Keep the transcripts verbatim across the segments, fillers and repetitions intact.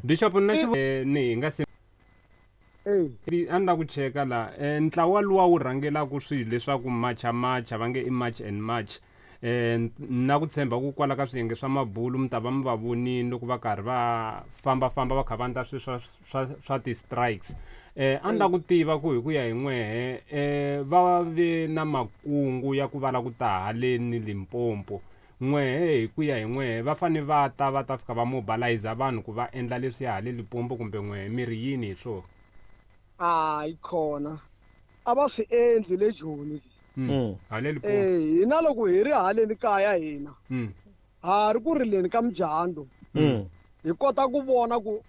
Bishop na xi eh, ni hi nga se Eh, a ni la ku cheka la eh, ntlawa luwa wu rhangelaka swilo leswaku macha macha va nge i march and march eh, na ku tshemba ku kwala ka swiyenge swa mabulu mi ta va mi va vonini loko va karhi va fambafamba va kha va endla swilo swa, swa, swa ti-strikes eh, a ni la ku tiva ku hi ku ya hi n'wehe eh, va ve na makungu ya ku va la ku ta haleni Limpopo n'wehe hi ku ya hi n'wehe va fane va ta va ta fika va mobilize vanhu ku va endla leswi ya hale Limpopo kumbe n'wehe mi ri yini hi swona hayi khona a va swi endli le Joni Mm. Mm. hale Limpopo eh hina loko hi ri haleni kaya hina Mm. ha ri ku rileni ka mujando Mm. hi kota ku vona ku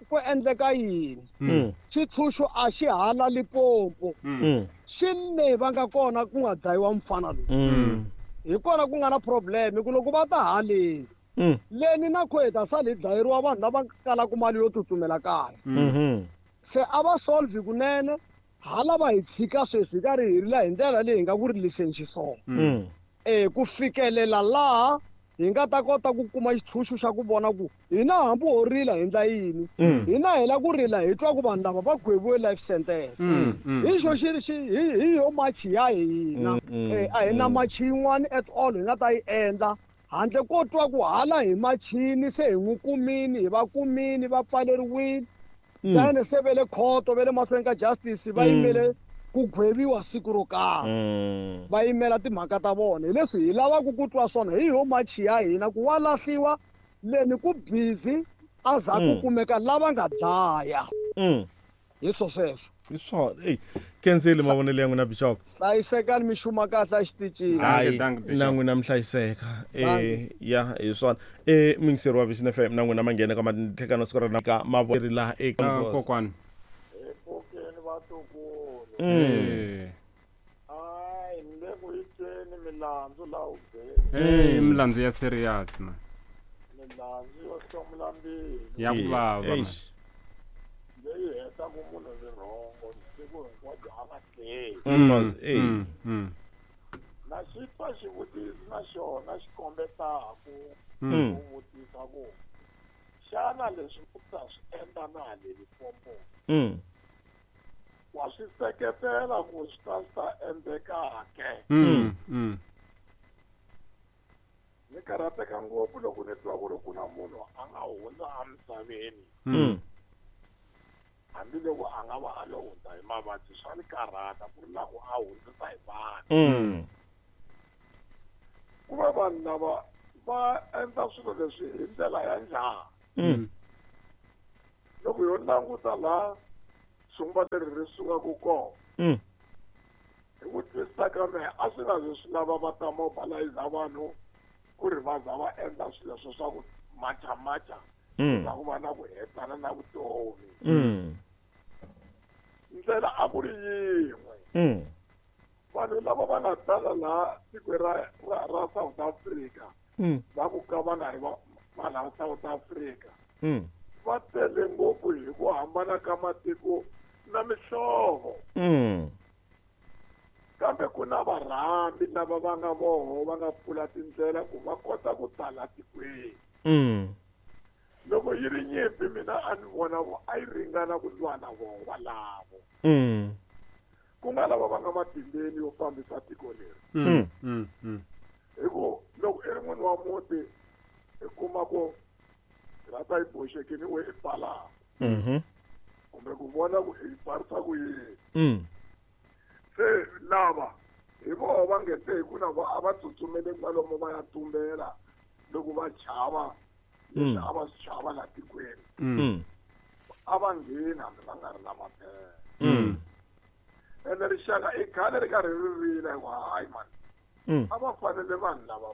ku endleka yini Mm. xitshunxo a xi hala Limpopo Mm. Mm. xi le va nga kona ku nga dlayiwa mfana lowu Mm. hi kona ku nga na problem ku loko va ta haleni Mm. leni na kho hi ta sala hi dlayeriwa vanhu lava kalaka mali yo tsutsumela kaya Mhm. se a va solve kunene hala va hi tshika sweswi hi karhi hi rila hi ndlela leyi hi nga ku riliseni xiswona Mm. eh ku fikelela laha hi nga ta kota ku kuma xitshunxo xa ku vona ku hina hambi ho rila hi ndla yini Mm. hina hi la ku rila hi twa ku vanhu lava va gweviwe life sentence Mm. Mm. hi xo xi xi hi hi yo machi ya hina Mm. eh a hi na machi yin'wana at all hi nga ta yi endla handle ko twa ku hala hi machini se hi n'wi kumini hi va kumini va pfaleriwile Mm. then se ve le khoto ve le mahlweni ka justice va Mm. yimele ku gweviwa siku ro karhi Mm. va yimela timhaka ta vona hi leswi hi lavaka ku twa swona hi yo machi ya hina ku wa lahliwa leni ku busy a za ku Mm. kumeka lava nga dlaya Mm. hi swo sweswo Hi swona eyi kenzeli mavonelo ya n'wina Bishop hlayisekani mi xuma kahle exitichini Dankie, hayi dankie, Bishop. na n'wina mi hlayiseka eh ya hi swona eh mingiseri wa Vision F M na n'wina ma nghena ka matlhekano siku ra na ka mavonelo laha eka Ah, kokwani epfukeni vatukulu Mm. Eh. hayi ni le ku yi tweni milandzu laha hubyeni Eh, i milandzu ya serious man milandzu yo hlomula mbilu ya ku vava man. Eish. leyi hetaka munhu vurhongo siku hinkwabyo a nga tleli Mm. Eh. Mm. Mm. na xi twa xivutiso na xona xi kombetaku Mm. ku vutisa ku xana leswi u ta swi endla na le Limpopo Mm. wa swi seketela ku swi ta swi ta endleka ke Mm. Mm. ni karhateka ngopfu loko ni twa ku ri ku na munhu a nga hundza emisaveni Mm. hambiloko a nga va a lo hundza hi mavabyi swa ni karhata ku ri na ku a hundzisa hi vanhu Mm. ku va vanhu lava va endla swilo leswi hi ndlela ya njhani Mm. loko yo languta laha sungwa leri ri sukaka kona Mm. hi ku twisisa ka mehe a swi nga zi swi lava va ta mobilize vanhu ku ri va za va endla swilo leswo swa ku macha macha Mm. swa ku va na ku hetana na vutomi Mm. ndlela a ku ri yin'we Mm. vanhu lava va nga tala laha tikweni ra ra ra South Africa Mm. va ku ka va nga ri va va laha South Africa Mm. va tele ngopfu hi ku hambana ka matiko na mihlovo Mm. kambe ku na varhambi lava va nga voho va nga pfula tindlela ku va kota ku tala tikweni Mm. loko yi ri nyimpi mina a ni vona ku a yi ringana ku lwa na voho valavo Mm. ku nga lava va nga matimbeni yo fambisa tiko leri Mm. Mm. Mm. hi ku loko i ri n'wini wa muti i kuma ku rata yi boxekini we i pfalaka Mhm. kumbe ku vona ku i pfarisa ku yini Mm. se lava hi voho va nge te hi ku na vo a va tsutsumele kwalomu va ya tumbela loko va chava leswi Mm. a va swi chava la tikweni Mm. a va ngheni hambi va nga ri na maphepha Mm. ene rixaka i khale ri karhi ri rila hi ku hayi mani Mm. a va fanele vanhu lava